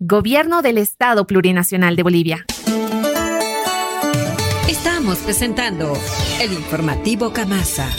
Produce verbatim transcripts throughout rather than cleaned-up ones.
Gobierno del Estado Plurinacional de Bolivia. Estamos presentando el informativo Kamasa.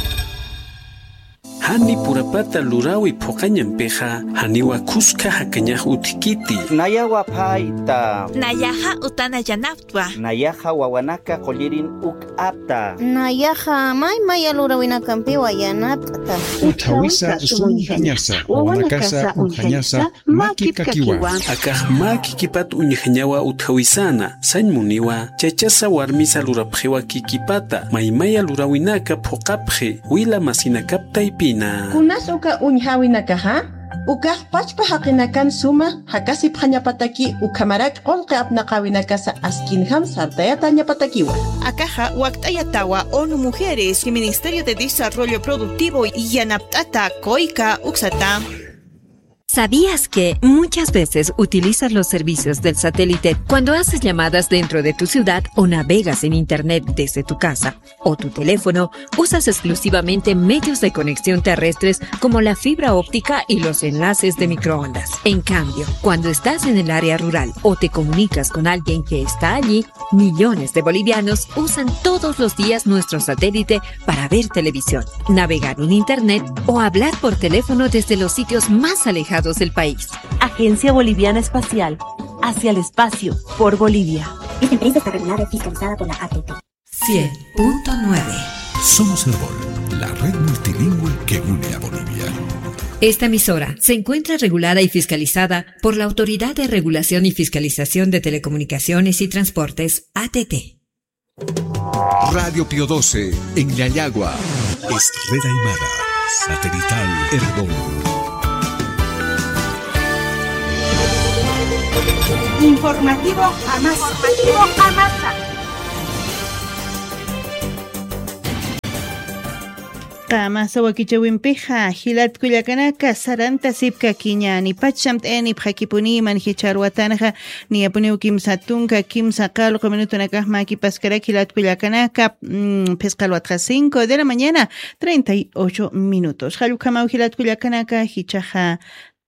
Jani purapata lurawi phuqañampixa, janiwa khuska jakañax utjkiti. Nayawa phayta. Nayaxa utana yanaptwa. Nayaxa wawanaka qullirin uk apta. Nayaxa may maya lurawinakampiwa yanapt'ta. Utjawisa usuñjañasa, wawanakasa uñjañasa, makipkakiwa. Akax mä kikipat uñjañawa utjawisana, sañ muniwa, chachasa warmisa lurapxiwa kikipata, maymaya lurawinaka phuqapxi, wila masinakap taypina. Kunas uka uñjawinakaxa, ukax pachpa jaqinakan suma jakasipxañapataki ukhamarak qullqi apnaqawinakasa askinjam sartayatäñapatakiwa. Akaxa wakt'ayatawa ONU Mujeres y Ministerio de Desarrollo Productivo yanapt'ata COICA uksata. ¿Sabías que muchas veces utilizas los servicios del satélite cuando haces llamadas dentro de tu ciudad o navegas en Internet desde tu casa o tu teléfono? Usas exclusivamente medios de conexión terrestres como la fibra óptica y los enlaces de microondas. En cambio, cuando estás en el área rural o te comunicas con alguien que está allí, millones de bolivianos usan todos los días nuestro satélite para ver televisión, navegar en Internet o hablar por teléfono desde los sitios más alejados del país. Agencia Boliviana Espacial, hacia el espacio, por Bolivia. Esta empresa está regulada y fiscalizada por la A T T. Cien punto nueve. Somos Erbol, la red multilingüe que une a Bolivia. Esta emisora se encuentra regulada y fiscalizada por la Autoridad de Regulación y Fiscalización de Telecomunicaciones y Transportes, A T T. Radio Pío doce, en Llallagua. Es red aymara, satelital Erbol. Informativo Amasa. Informativo Amasa. Kamasa wakichäwimpixa, jilat kullakanaka, sarantasipkakiñäni, pacham t'ayanipxakipuniman, jichhar watanxa niyapuniw kimsa tunka kimsa qallqu minutunakax mäkipaskaraki jilat kullakanaka, mm, phisqa alwatxa cinco de la mañana, treinta y ocho minutos. Jall ukhamaw jilat kullakanaka, jichhaxa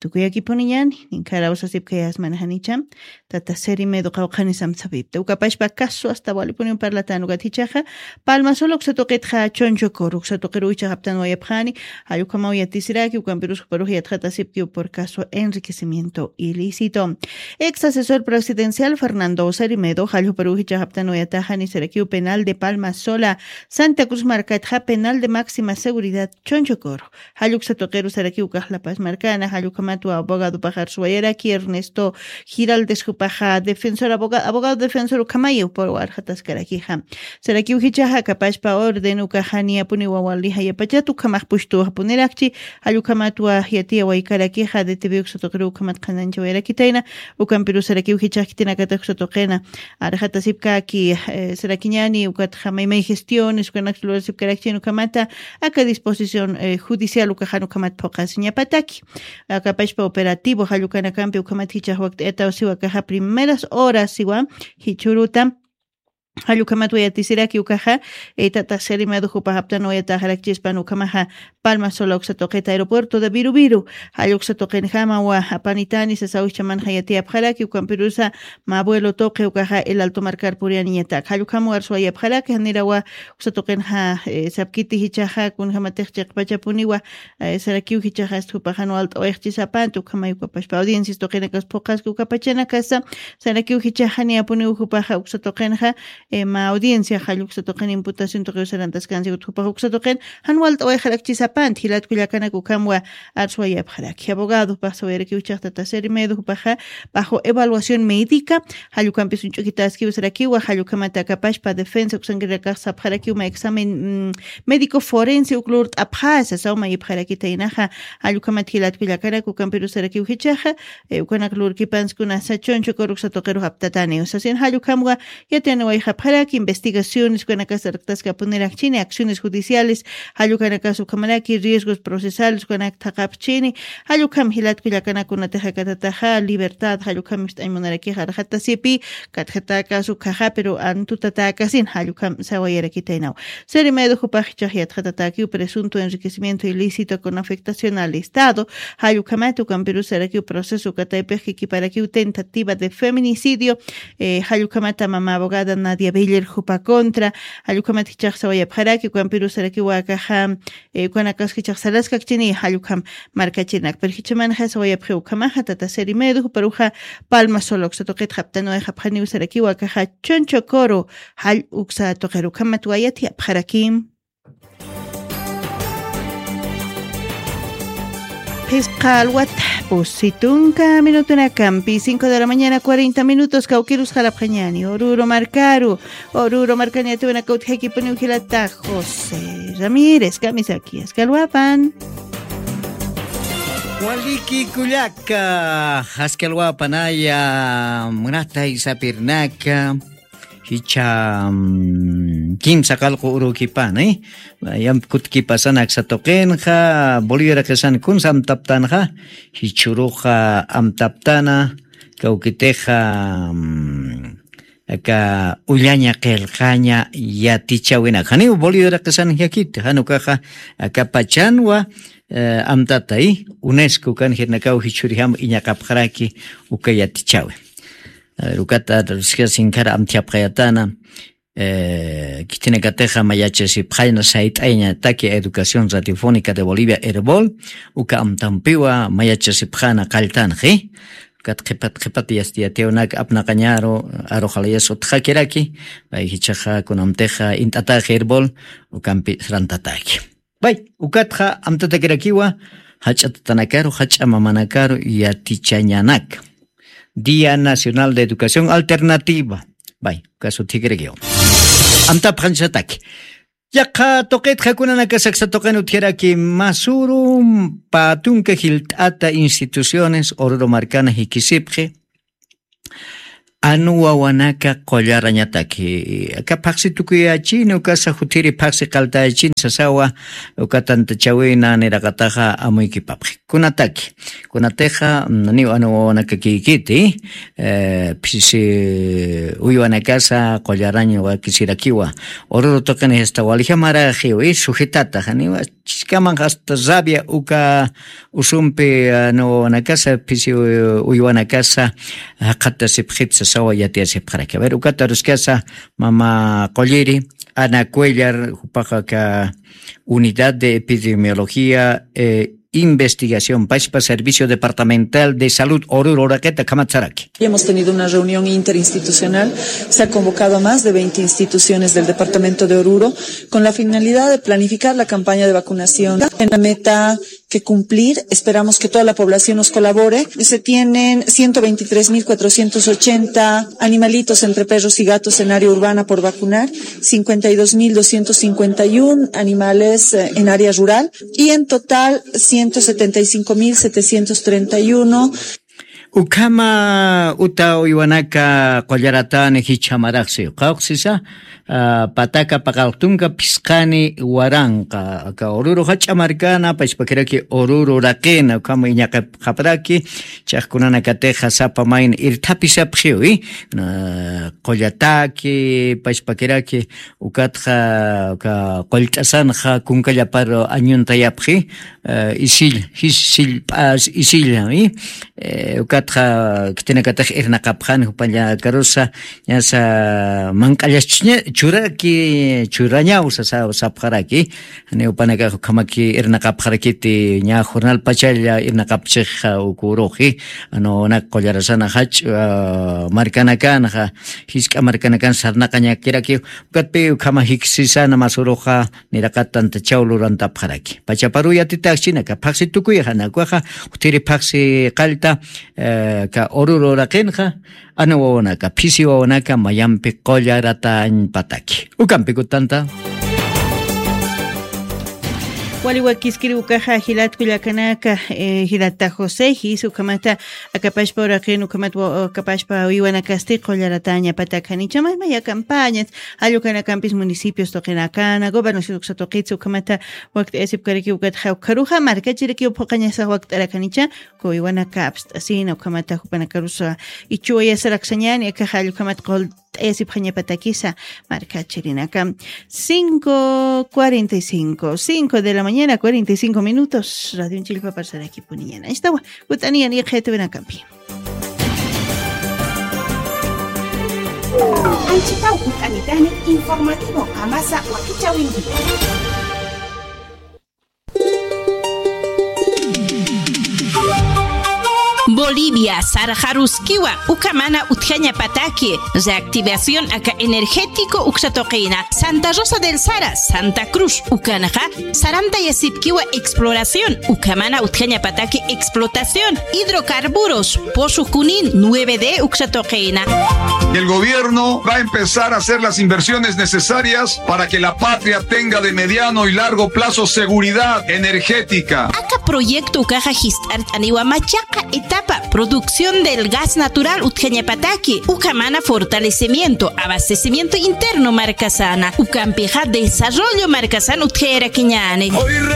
tukuyakipuniñäni, ninkharawsasipkayas mana janicham, tata Seri Medo qawqhanis amsapipta. Ukapachpa caso hasta walipuniw parlatän ukat jichhaxa, Palma Sola uksa tuqitxa Chonchocoro uksa tuqiruw jichhax aptanwayapxani, jall ukhamaw yatisiraki, ukampirus juparux yatxatasipkiw por caso enriquecimiento ilícito. Ex asesor presidencial Fernando Seri Medo, jall juparux jichhax aptanwayataxani sarakiw penal de Palma Sola, Santa Cruz markatxa penal de máxima seguridad Chonchocoro. Jall uksa tuqiru sarakiw ukax La Paz markana, jall ukhamatwa abogadopax arsuwayaraki Ernesto Giraldes jupaxa defensor, aboga-, abogado defensor ukhamayiw purwa arxataskarakixa. Sarakiw jichhaxa akapachpa orden ukaxa niyapuniwa wali jayapachat ukhamax pustuwaxapunirakchi, jall ukhamatwa yatiyawaykarakixa D T V uksa tuqiru ukhamat qhanañchawayarakitayna, ukampirus sarakiw jichhax khitinakatix uksa tuqina arxatasipkaki, eh, sarakiñäni ukatxa maymay gestiones ukanaksa lurasipkarakchin ukhamata, aka disposición, eh, judicial ukaxan ukhamat phuqasiñapataki. Akapachpa operativo jall ukanakampi ukhamat jichhax wakt'ayataw siwa akaxa primeras horas siwa, jichhüruta jall ukhamatwa yatisiraki ukaxa, eh, tata Seri Medo jupax aptanwayataxarakchispan ukhamaxa Palma Sola uksa tuqita aeropuerto de Viru Viru, jall uksa tuqinjamawa apanitani sasaw jichhamanxa yatiyapxaraki, ukampirusa mä vuelo tuqi ukaxa El Alto markar puriyaniñatak. Jall ukhamaw arsuwayapxaraki, janirawa uksa tuqinxa, eh, sapkiti jichhaxa, kunjamatix chiqpachapuniwa, eh, sarakiw jichhaxa ast jupaxan walt'awayxchisapanti, ukhamay ukapachpa audiencias tuqinakas phuqaski ukapachanakasa, sarakiw jichhaxa niyapuniw jupaxa uksa tuqinxa, eh, mä audiencia, jall uksa tuqin imputación tuqiw sarantaskansi, ukat jupax uksa tuqin jan walt'awayxarakchisapanti, jilat kullakanak ukhamwa arsuwayapxaraki. Abogado jupax sawayarakiw jichhax tata Seri Medo jupaxa bajo evaluación médica, jall ukampis uñch'ukitaskiw sarakiwa, jall ukhamata akapachpa defensa uksankirinakax sapxarakiw mä examen, mm, médico forense uk lurt'apxäsa sasaw mayipxarakitaynaxa, jall ukhamat jilat kullakanak ukampirus sarakiw jichhaxa, eh, ukanak lurkipansi kunasa Chonchocoro uksa tuqirux aptataniw sasin, jall ukhamwa yatiyaniwayxap pxaraki investigaciones ukanakasarktaskapuniraxchini acciones judiciales, jallukanakas ukhamaraki riesgos procesales ukanak thaqapxchini. Jallukam jilatku llakanakkunatixakatataxa libertad jallukam ist'añmunarakixa arxatasipi. Katjatakas ukhaxa pero antutatäkasin jallukam sawayarakitaynaw. Seri medu jupax ichax yatxatatakiw presunto enriquecimiento ilícito con afectación al estado. Jallukhamata ukampirusarakiw proceso ukataypix kikiparakiw tentativa de feminicidio. Jallukhamata mama abogada nadia beller jupa contra. Jallukhamata jichax sawayapxaraki ukampirusarakiw akaxa. Ukanakaskichax salaskakchini jallukam markachirinak pero jichamanxa sawayapxi ukhamaxa tata seri medu juparuxa. Palma solo uksa tuqit japtanuway japxaniw sarakiw akaxa choncho coro. Jall uksa tuqiru ukhamat wayat yapxarakim. Phisqa alwata pusi tunka minutunakampi cinco de la mañana cuarenta minutos kawkirus qalapxañani ururu markaru. Ururu markañatiwinaka utjaykipunïw jilata josé ramírez kamisaki askalwapan. Waliki kullaka askalwapanaya munatay sapirnaka. Jichha kimsa qalqu urukipani yampi kutkipasanaksa tuqinxa boliviaraqisan kunsa amtaptanxa. Jichhuruxa amtaptana kawkitixa aka ullaña qillqaña yatichäwinak janiw boliviaraqisan jakiti jan ukaxa aka pachanwa amtatay unesco kan jirnakaw jichhurjam iñaqapxaraki uka yatichäwi. Rukata ruskasinkara amthiapxayatana. Khitinakatixa mayachasipxayna sayt'ayñataki educación radiofónica de bolivia herbol uka amtampiwa mayachasipxana qalltanxi. Ukat qhipat qhipat yastiyatiwnak apnaqañaru aruxalayas utxakiraki. Pay jichhaxa kunamtixa int'ataxi herbol ukampi srantataki. Pay ukatxa amtatakirakiwa jach'a tatanakaru jach'a mamanakaru yatichañanaka. Día nacional de educación alternativa. Pay uka suthikirakiwa amtapxañsataki. Yaqha tuqitxa kunanakasaksa tuqin utjaraki masuru patunka jilt'ata instituciones ururu markana jikisipxi. Anu wawanaka qullarañataki aka phaqsi tukuyachini ukasa juthiri phaqsi qaltayachini sasawa. Uka tantachawina niraqataxa amuykipapxi kunataki kunatixa naniw anu wawanaka kiykiti phisi uywanakasa qullarañ wakisirakiwa. Ururu tuqini jista walijamaraxiwi sujetata janiwa chiskaman jasta rabia uka usumpi anu wawanakasa phisi uywanakasa jaqhatasipxit sasawa yatiyasipxaraki aver ukata ruskasa. Mama qulliri ana cuellar jupaxa aka unidad de epidemiología investigación pachpa servicio departamental de salud ururu uraqita kamatsaraki. Hemos tenido una reunión interinstitucional. Se ha convocado a más de veinte instituciones del departamento de Oruro con la finalidad de planificar la campaña de vacunación en la meta que cumplir. Esperamos que toda la población nos colabore. Se tienen ciento veintitrés mil cuatrocientos ochenta animalitos entre perros y gatos en área urbana por vacunar, cincuenta y dos mil doscientos cincuenta y uno animales en área rural y en total ciento setenta y cinco mil setecientos treinta y uno. Ukhama uta uywanaka qullaratani jichhamaraxsi qawqsisa. Pataka paqalqtunka phisqani waranqa aka ururu jach'a markana pachpakiraki ururu raqina ukhama iñaqapxapraki. Chaqkunanakatixa sapa mayna irthapisapxiwi qullataki pachpakiraki. Ukatxa uka qullt'asanxa kunkallaparu añuntayapxi. Isil jis sillp'as isillami. Ukatxa khitinakatix irnaqapxani jupañakarusa ñasa manq'allaschiña churaki churañaw sasa sapxaraki. Janiw panakax ukhamaki irnaqapxarakiti ña jornal pachalla irnaqapchixa uku uruxi. Anu wawanak qullarasana jach'a markanakanxa jisk'a markanakan sarnaqañakirakiw. Ukatpi ukhama jiksisana masuruxa niraqat tantachaw lurantapxaraki pachaparu yatitaxchina aka phaqsi tukuyaxa nakuxa juthiri phaqsi qallta. Aka ururu uraqinxa ana wawanaka phisi wawanaka mayampi qullaratañpataki ukampikutanta. Wali wakiskiri ukaxa jilat kullakanaka, eh, jilata José, jis ukhamata akapashpa uraqin, ukhamata wa-, akapashpa wiwanakasti qullarataña patakhanicha, maya campañas, jallukhanakampis municipios tuqinakana, gobernación uksa tuqitsa, ukhamata wakt'ayasipkaraki ukatxa, ukharuxa markachiraki uphuqañasa wakt'arakanicha, kuwiwanaka apst'asina, ukhamata jupanakarusa ichuwayasa raksañani, akaxa jallukhamata qul-, t'ayasipxañapatakisa markachirinaka. Cinco cuarenta y cinco, cinco de la mañana, cuarenta y cinco minutos. Radio Chillpa parsarakipuniñana. Estawa, ut'aniyan iqhayatuwinakampi. Anchitaw ut'anitani informativo qamasa wakichawinki. Bolivia, sarxaruskiwa, ukamana utjañapataki, reactivación aka energético uksatuqina, Santa Rosa del Sara, Santa Cruz, ukanaqa, sarantayasipkiwa exploración, ukamana utjañapataki explotación, hidrocarburos, pozo Junín, nueve D uksatuqina. El gobierno va a empezar a hacer las inversiones necesarias para que la patria tenga de mediano y largo plazo seguridad energética. Aka proyecto ukaxa jist'art'aniwa machaqa etapa, producción del gas natural utjañapataki, ukamana fortalecimiento, abastecimiento interno markasana, ukampixa desarrollo markasan utjayarakiñani.